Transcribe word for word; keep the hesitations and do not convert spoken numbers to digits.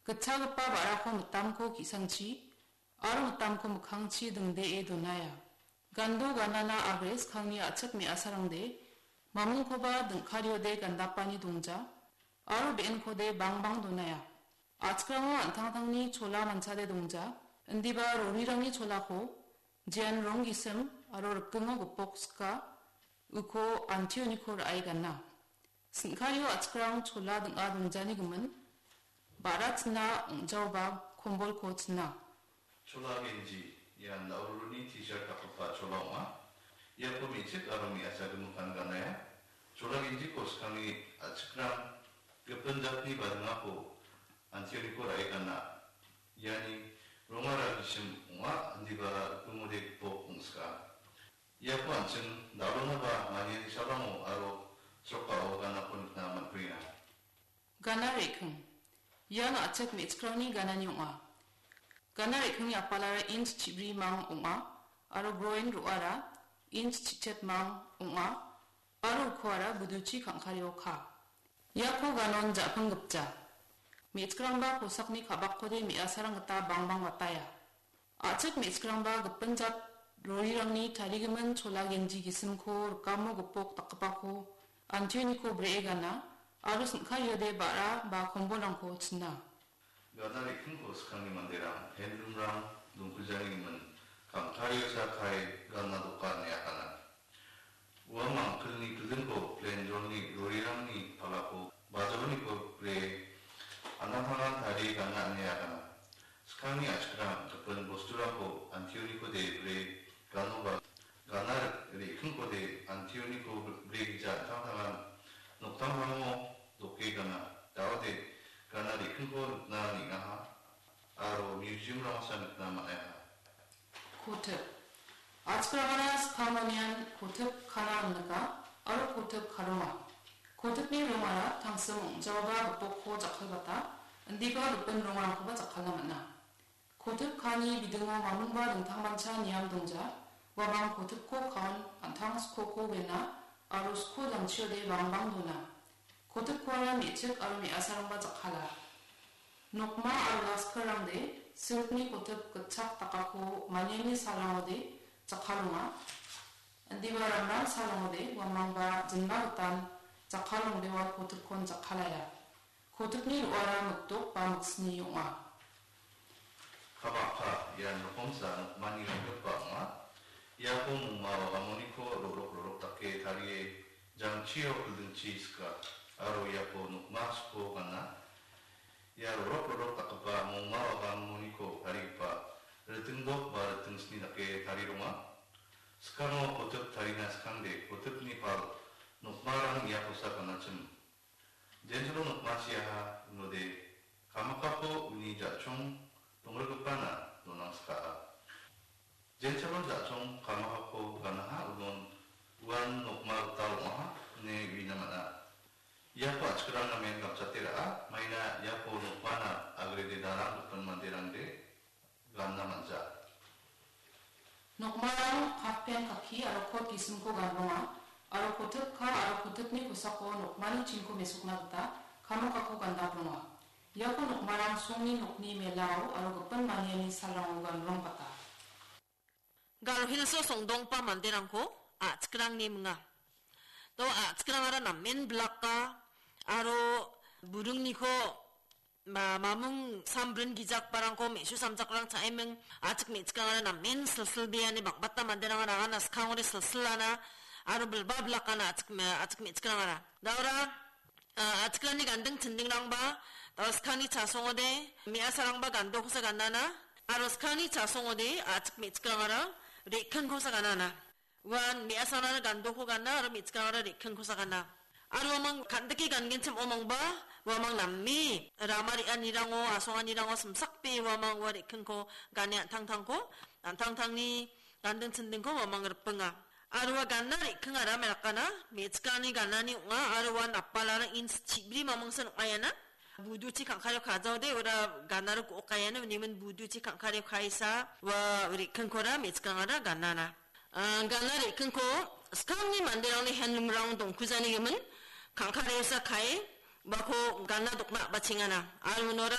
Gitchagipa ba·rako mitamko ki·sangchi aro mitamko mikkangchi dingdee donaia. Gando ganana agre skangni a·chik me·asarangde mamingkoba dingkariode gandapani dongja aro be·enkode bangbang donaia. A·chikrango an·tangtangni chola manchade dongja, indiba rorirangni cholako jean rong gisim aro rikingo gipok sika, uko antioniko ra·e gana. Sin·kario a·chikrang chola ding·a dongjani gimin, ba·ra china ong·jaoba kombolko china. Chola genji, ian daururuni T-shirt dakgipa chola ong·a. Iako me·chik aro me·asa gimikan ganaia. Chola genjiko skangni a·chikrang gipin jatni badingako antioniko ra·e gana. Iani rongara gisim ong·a, indiba rikingode gipok ong·sika. Iako an·ching dal·onaba maniani salango aro srokao ganako nikna man·kuenga. Gana re·king. Ian a·chik me·chikrangni ganani ong·a. Gana re·kingni apalara inch chibri mang ong·a aro groin ro·ara inch chichet mang ong·a aro ukoara buduchi kangkario ka. Iako ganon ja·ping gipja. Me·chikrangba kosakni ka·bakkode me·asarang gita bangbang bataia. A·chik me·chikrangba gipin jat rorirangni tarigimin chola genji gisimko rikamo gipok dakgipako antioniko bree gana aro sin·kariode ba·ra ba kombolrangko china. Gana re·kingko skangni manderang handloomrang dongkuljani gimin kangkariosa kae gana dokan ine agana. Ua mangkilni kildingko plenjolni rorirangni palako bajaoniko bre anangtangan tarie gana ine agana. Skangni a·chikrang gipin bosturangko antionikode bre ganoba gana re·kingkode antioniko bre gija an·tangtangan noktangtango doke gana. Daode gana re·kingko nikna neng·aha aro museumrangsa nikna man·aha. Kotip. A·chikrangara skangonian kotip kana ong·nika aro kotip karonga. Kotipni rongara tangsim ong·jaoba gipokko jakkalbata, indiba gipin rongrangkoba jakkala man·a. Kotip kani bidingo mamingba dingtangmancha niam dongja, uamang kotipko kaon an·tang skoko wena aro sko jangchiode bangbang dona. Kotipkoara me·chik aro me·asarangba jakkala. Nokma aro laskirangde silkni kotip gitchak dakako maniani salrangode jakkalonga. Indiba ramram salrangode uamangba jinma gitan jakkalongde ua kotipkon jakkalaia. Kotipni ro·ara mikdok ba miksni ong·a. Kabakka ian rokomsa nokmani ronggipa ong·a. Iako mongma wagangoniko ro·rok ro·rok dake tarie jangchio kildingchi sika aro iako nokma sko gana. Ia ro·rok ro·rok dakgipa mongma wagangoniko tarigipa ritingdok ba ritingsni dake tarie donga. Skano kotip tarina skangde kotipni pal nokmarang iakosa ganachim. Jensalo nokmachiaha unode kamakako uni ja·chong donggrikgipana donangskaha. Jensalo ja·chong kamakako ganaha unon uan nokma gital ong·aha ine uina man·a. Iako a·chikrang namen gapchate ra·a, maina iako nokmana agrede darang gipin manderangde ganna man·ja. Nokmarang half pant kakki aro kot gisimko ganbonga, aro kotip ka aro kotipni kosako nokmani chinko mesokna gita kamakako gandapronga. Iako nokmarang songni nokni melao aro gipin maniani salrango ganrongbata. Garo Hilso songdonggipa manderangko a·chikrangni minga. Do a·chikrangara namen blaka aro buringniko ma-, mamung sambrin gijakbarangko me·su samjakrang cha·eming a·chik me·chikrangara namen silsilbeani bang·bata manderangara agana skangode silsilana aro bilba blakana a·chik me-, a·chik me·chikrangara. Daora, a, a·chikrangni ganding chindingrangba, a, skangni chasongode me·asarangba gandokosa ganana, aro skangni chasongode a·chik me·chikrangara re·kingkosa ganana. Uan me·asarangara gandoko gana aro me·chikrangara re·kingkosa gana. Aro uamang kan·dike gangenchim omangba, uamang name rama re·anirango, asonganirango simsakbe uamang ua re·kingko gane an·tangtangko, an·tangtangni ganding chindingko uamang ripinga. Aro ua gana re·kingara me rakana, me·chikrangni ganani ong·a, aro uan apalara ins chibri mamingsan ong·a iana. Buduchi kangkario kajaode ora ganaro go·okaiana, unimin buduchi kangkario kaisa, ua re·kingkora me·chikrangara ganana. Ah, gana re·kingko skangni manderangni handloomrang dongkujani gimin, kangkariosa kae, uako gana dokna a·bachengana. Aro unora